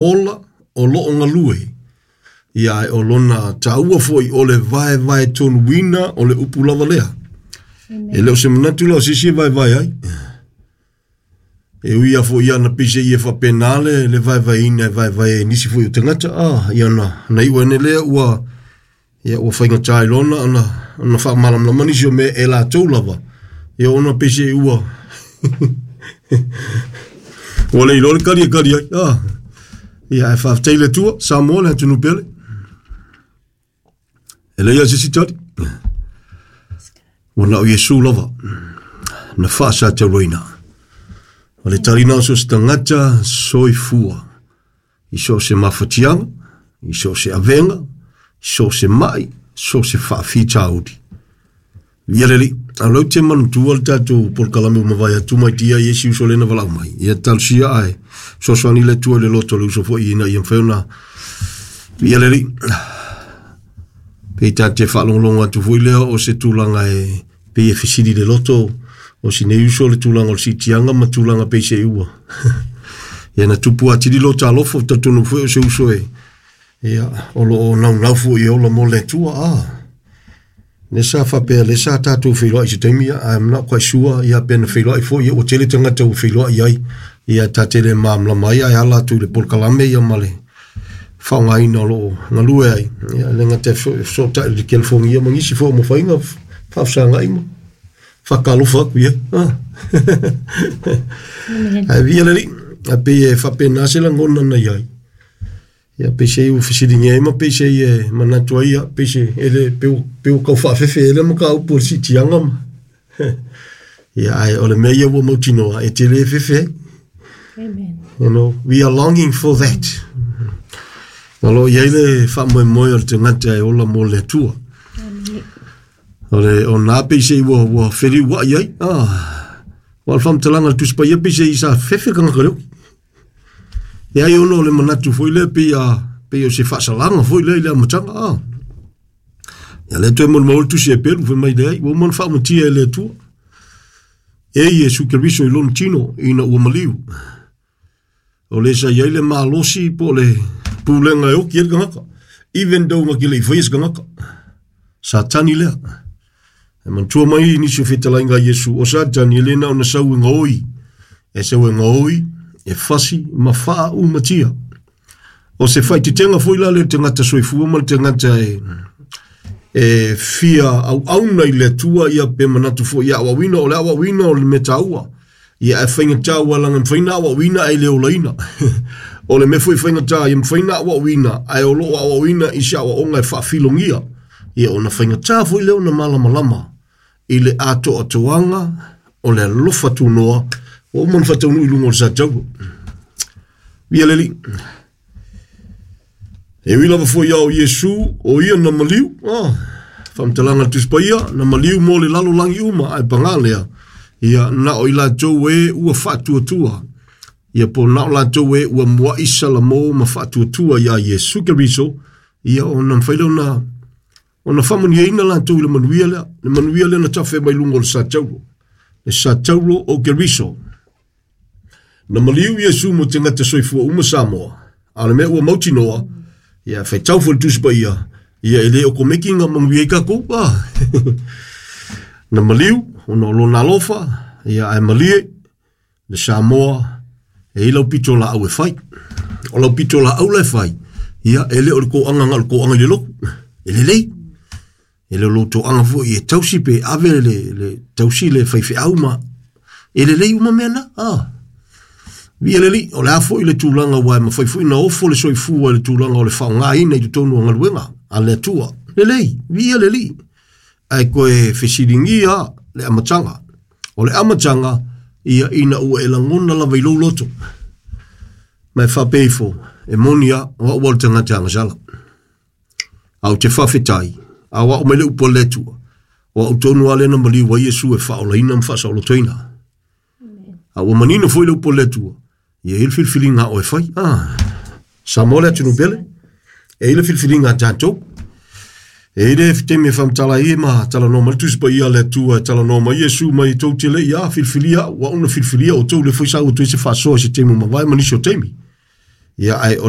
Ola o lo o galue, ia ae o lona taua foi o le vaevae tonuina o le upu lava lea. E le o se manatu la o se isi e vaevae ai. E ui lava foi ia na peiseai e faapena le, le vaevaeina e vaevae ai nisi foi o tagata, ah, ia na, na iu ane lea ua, ia ua faigata ai loa ona, ona, ona faamalamalama nisi o mea e latou lava, ia ona peiseai ua ua le iloa le kali e kali ai. Ah. Ia, ae faafetai i le Atua, Samoa le atunuu pele. E leai lava se isi tali. Ua na o Iesu lava na faasatauaina. O le tali na o so o se tagata soifua i so o se mafatiaga, i so o se avega, i so o se mai, so o se faafitauli. Ia le Alii, a o lea ou te manatua le tatou polokalame ua mavae atu mai tia i isi uso lea na valaau mai. Ia talosia ae fesoasoani le Atua i le loto o le uso foi ina ia mafai ona. Ia le Alii, pei ta te faalogologo atu foi lea o se tulaga e pei e fesili le loto o si nei uso le tulaga o le siitiaga ma tulaga pei se ua. Ia na tupu atili lo talofa, talitonu foi o se uso e ia o lo o naunau foi e ola mo le Atua. Ah. Lea sa faapea, lea sa tatou feiloai i se taimi, I'm not quite sure, ia pe na feiloai foi, ia ua tele tagata ua feiloai ai, ia ta te le malamalama ai, ae ala atu i le polokalame ia ma le faaaogaina o lo o galue ai, ia le gata e fesootai i le telefoni ia ma nisi foi o mafaiga faafesagai ma faatalofa atu i ai. Ah. Ae viia le Alii, ae pei e faapena se lagona na i ai. Ia peisei ua fesiligia ai ma peisei e manatu ai ia peisei e le pe ua pe ua tau faafefe ai le mataupu o le siitiaga ma ia ae o le mea ia ua mautinoa e te le fefe ai. Amen. You know, we are longing for that. O lo o i ai le faamoemoe o le tagata e ola mo le Atua. Amen. O le o nā peisei ua ua feliuai ai. Ah. Ua le faamatalaga a le Tusi Paia peisei sa fefe tagata le oki. E ai ona o le manatu foi lea pei a pei o se faasalaga foi lea i le amataga a. Ia lea toe molimau le tusi e pelu fai mai leai ua uma ona faamatia e le Atua. E Iesu Keriso i lona tino ina ua maliu. O le sa i ai le malosi po o le pulega e oki ai le tagata. Even though na te le i faia se tagata. Satani lea. E manatua mai nisi o fetalaiga a Iesu, o Satani e le na ona sau e gaoi, e sau e gaoi, e fasi ma faaumatia. O se faititenga foi la lea i le tagata soifua ma le tagata e, e fia auauna i le Atua ia pe manatu foi ia aoaoina, o le aoaoina o le mea taua. Ia ae faigata ua laga e mafai ona aoaoina ae le olaina. O le mea foi faigata ia mafai ona aoaoina ae o lo o aoaoina i se aoaoga e faafilogia. Ia ona faigata foi lea ona malamalama i le atoatoaga o le alofa tunoa ua uma ona faataunuu i luga o le satauro. Ia le Alii. E ui lava foi ia o Iesu, o ia na maliu, ah, faamatalaga a le Tusi Paia, na maliu mo le lalolagi uma, ae pagā lea, ia na o i latou e ua faatuatua, ia po na o latou e ua mua'i salamo ma faatuatua iā Iesu Keriso, ia ona mafai lea ona ona faamanuiaina latou i le manuia lea, le manuia lea na tafe mai luga o le satauro, le satauro o Keriso. Na maliu Iesu mo tagata soifua uma Samoa, a o le mea ua mautinoa, ia faitau foi le Tusi Paia, ia e le okomeki na manuia ai tatou. Ah. Na maliu ona o lona alofa, ia ae malie le Samoa e i lau pito laau e fai. O lau pito laau la e fai, ia e le o le toaga na o le toaga i le lotu. E lelei. E le o lou toaga foi e tausi pe ave le, le tausi le faifeau ma e lelei uma mea na. Ah. Viia le Alii, o le a foi le tulaga aua e mafai foi ona ofo le soifua i le tulaga o le faaaogaina i totonu o galuega a le Atua. Lelei, viia le Alii. Ae toe fesiligia le amataga. O le amataga, ia ina ua e lagona lava i lou loto. Ma e faapea ifo, e moni a, o au o le tagata agasala. A ou te faafetai, a o au mai le upu a le Atua, o au tonu lava lea na maliu ai Iesu e faaolaina ma faasaolotoina. A ua manino foi le upu a le Atua, ia i ai le filifiliga a oe e fai. Ah, Samoa le atunuu pele, e i ai le filifiliga a tatou. E i ai le taimi e faamatala ai ma talanoa mai le Tusi Paia a le Atua e talanoa mai Iesu mai tou te le i a filifilia au, au na filifilia outou, lea foi sa ua toe se faasoa i se taimi ua mavae ma nisi o taimi. Ia ae o le